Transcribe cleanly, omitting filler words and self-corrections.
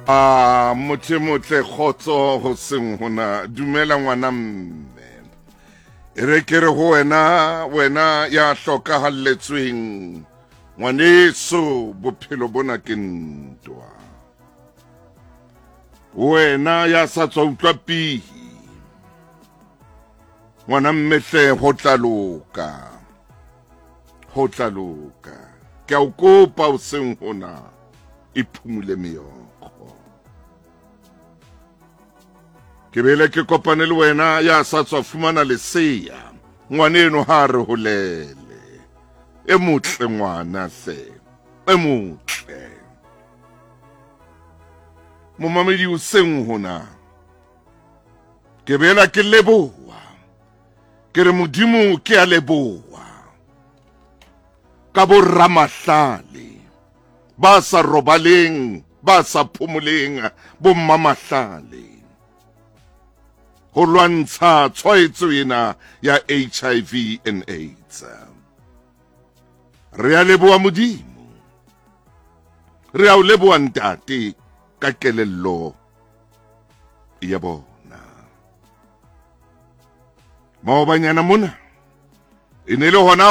A motho e motle kgotso ho seng hona dumela ngwana mme e re ke re ho wena wena ya hlokahalletsweng ngwaneso bophelo bona ke ntwa wena ya sa tswa utlwa pihi ngwana mmehle ho tla loka ho tla loka ke a o kopa o seng hona e phumule meokgo ke bele ke kopane le wena ya sa tswa fumana lesea ngwaneno ha re holele e motle ngwana hle e motle momamedi o seng hona ke bela ke leboa ke re modimo ke a leboa ka boramahlale ba sa robaleng ba sa phomoleng bommamahlale ho lwantsha tshwaetso ena ya HIV and AIDS. Re a leboa modimo, re a o leboa ntate ka kelello ya bona. Maobanyana mona e ne le hona.